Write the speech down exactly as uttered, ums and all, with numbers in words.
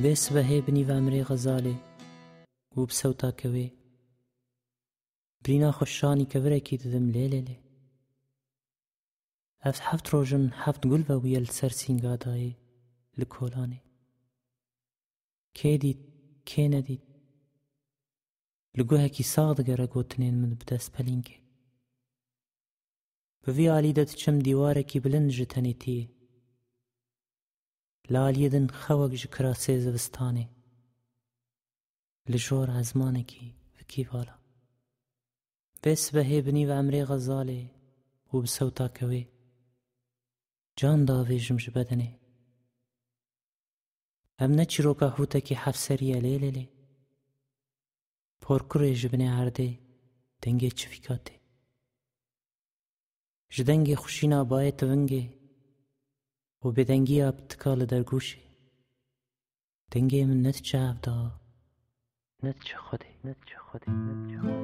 Vê sibehê bi nîv emrê Xezalê û bi sewta kewê, birîna xwe şanî kevirekî didim lê lê lê. Ev heft roj in heft gul vebûye li ser sînga dayê li kolanê. Kê dît, kê nedît? Li guhekî sax digere gotinên min bi destpelînkê. Bi vî alî de diçim dîwarekî bilind ji tenêtiyê. Li aliyê din xewek ji kirasê zivistanê. Li jor ezmanekî vikî vala. Vê sibehê bi nîv emrê Xezalê û bi sewta kewê, can davêjim ji bedenê. Em ne çîroka hûtekî hefserî ye lê lê lê. Porkurê ji binê erdê dengê çivîka tê. Ji dengê xuşîna bayê tivingê û bêdengiya pitika li dergûşê, dengê min ne diçe hevda, ne diçe Xwedê, ne diçe Xwedê, ne diçe Xwedê.